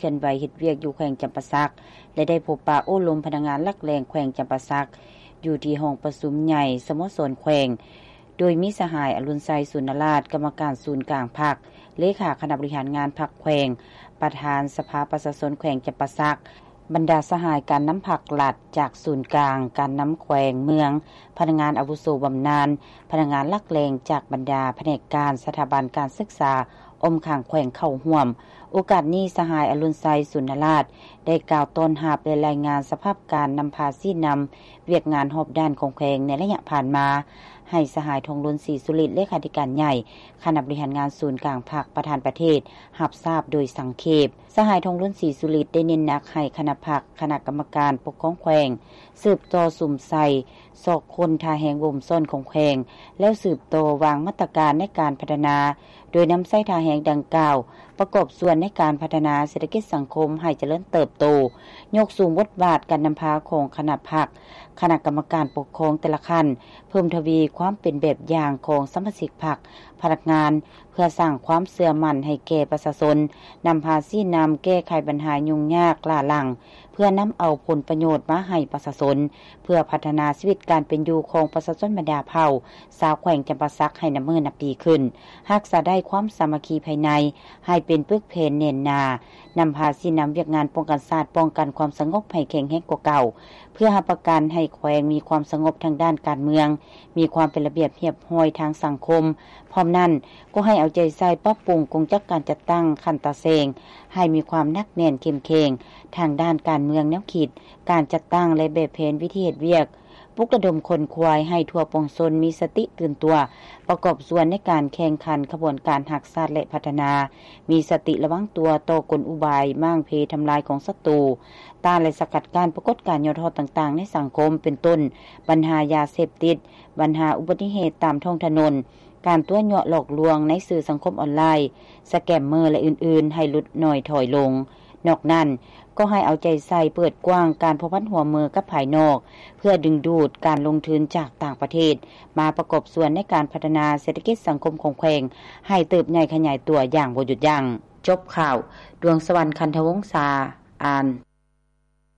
ອນໄຫວເຮັດວຽກຢູ່ແຂວງຈຳປາສັກ ແລະ ໄດ້ພົບປະໂອ້ລົມພະນັກງານຫຼັກແຫຼ່ງແຂວງຈຳປາສັກ ຢູ່ທີ່ຫ້ອງປະຊຸມໃຫຍ່ສະໂມສອນແຂວງ ໂດຍມີສະຫາຍ ອະລຸນໄຊ ສູນນະລາດ ກຳມະການສູນກາງພັກ, ເລຂາຄະນະບໍລິຫານງານພັກແຂວງ, ປະທານສະພາປະຊາຊົນແຂວງຈຳປາສັກ, ບັນດາສະຫາຍການນຳພັກລັດຈາກສູນກາງ, ການນຳແຂວງເມືອງ, ພະນັກງານອາວຸໂສບຳນານ, ພະນັກງານຫຼັກແຫຼ່ງຈາກບັນດາພະແນກການ, ສະຖາບັນການສຶກສາອ້ອມຂ້າງແຂວງເຂົ້າຮ່ວມ. ໂອກາດນີ້ ສະຫາຍ ອະລຸນໄຊ ສູນນະລາດ ໄດ້ກ່າວຕ້ອນຮັບ ແລະ ລາຍງານສະພາບການນຳພາຊີ້ນຳວຽກງານຮອບດ້ານຂອງແຂວງໃນໄລຍະຜ່ານມາ ໃຫ້ສະຫາຍ ທອງລຸນ ສີສຸລິດ ເລຂາທິການໃຫຍ່ຄະນະບໍລິຫານງານສູນກາງພັກ ປະທານປະເທດ ຮັບຊາບໂດຍສັງເຂບ. ສະຫາຍ ທອງລຸນ ສີສຸລິດ ໄດ້ເນັ້ນໜັກໃຫ້ຄະນະພັກ, ຄະນະກຳມະການປົກຄອງແຂວງ ສືບຕໍ່ສຸມໃສ່ຊອກຄົ້ນທ່າແຮງບົ່ມຊ້ອນຂອງແຂວງ ແລ້ວສືບຕໍ່ວາງມາດຕະການໃນການພັດທະນາ ໂດຍນຳໃຊ້ທ່າແຮງດັ່ງກ່າວ ປະກອບສ່ວນໃນການພັດທະນາເສດຖະກິດສັງຄົມໃຫ້ຈະເລີນເຕີບໂຕ, ຍົກສູງບົດບາດການນຳພາຂອງຄະນະພັກ, ຄະນະກຳມະການປົກຄອງແຕ່ລະຂັ້ນ, ເພີ່ມທະວີຄວາມເປັນແບບຢ່າງຂອງສະມາຊິກພັກ, ພະນັກງານ ເພື່ອສ້າງຄວາມເຊື່ອໝັ້ນໃຫ້ແກ່ປະຊາຊົນ, ນຳພາຊີ້ນຳແກ້ໄຂບັນຫາຫຍຸ້ງຍາກຫຼ້າຫຼັງ ເພື່ອນຳເອົາຜົນປະໂຫຍດມາໃຫ້ປະຊາຊົນ, ເພື່ອພັດທະນາຊີວິດການເປັນຢູ່ຂອງປະຊາຊົນບັນດາເຜົ່າຊາວແຂວງຈຳປາສັກໃຫ້ນັບມື້ນັບດີຂຶ້ນ, ຮັກສາໄດ້ຄວາມສາມັກຄີພາຍໃນໃຫ້ເປັນປຶກແຜ່ນແໜ້ນໜາ, ນຳພາຊີ້ນຳວຽກງານປ້ອງກັນຊາດ, ປ້ອງກັນຄວາມສະຫງົບໃຫ້ແຂງແຮງກວ່າເກົ່າ, ເພື່ອຮັບປະກັນໃຫ້ແຂວງມີຄວາມສະຫງົບທາງດ້ານການເມືອງ, ມີຄວາມເປັນລະບຽບຮຽບຮ້ອຍທາງສັງຄົມ. ພ້ອມນັ້ນ, ກໍໃຫ້ເອົາໃຈໃສ່ປັບປຸງກົງຈັກການຈັດຕັ້ງຂັ້ນຕາແສງ ໃຫ້ມີຄວາມໜັກແໜ້ນເຂັ້ມແຂງທາງດ້ານການເມືອງແນວຄິດ, ການຈັດຕັ້ງ ແລະ ແບບແຜນວິທີເຮັດວຽກ, ປຸກລະດົມຂົນຂວາຍໃຫ້ທົ່ວປວງຊົນມີສະຕິຕື່ນຕົວ, ປະກອບສ່ວນໃນການແຂ່ງຂັນຂະບວນການຮັກຊາດ ແລະ ພັດທະນາ, ມີສະຕິລະວັງຕົວຕໍ່ກົນອຸບາຍມ້າງເພທຳລາຍຂອງສັດຕູ, ຕ້ານ ແລະ ສະກັດກັ້ນປາກົດການຫຍໍ້ທໍ້ຕ່າງໆໃນສັງຄົມ, ເປັນຕົ້ນ ບັນຫາຢາເສບຕິດ, ບັນຫາອຸບັດຕິເຫດຕາມທ້ອງຖະໜົນ, ການຕົວະຍົວະຫຼອກລວງໃນສື່ສັງຄົມອອນລາຍ, ສະແກມເມີ ແລະ ອື່ນໆ ໃຫ້ຫຼຸດໜ້ອຍຖອຍລົງ. ນອກນັ້ນ, ກໍໃຫ້ເອົາໃຈໃສ່ເປີດກວ້າງການພົວພັນຮ່ວມມືກັບພາຍນອກ, ເພື່ອດຶງດູດການລົງທຶນຈາກຕ່າງປະເທດ ມາປະກອບສ່ວນໃນການພັດທະນາເສດຖະກິດສັງຄົມຂອງແຂວງ ໃຫ້ເຕີບໃຫຍ່ຂະຫຍາຍຕົວຢ່າງບໍ່ຢຸດຢັ້ງ. ຈົບຂ່າວ, ດວງສະຫວັນ ຄັນທະວົງສາ ອ່ານ.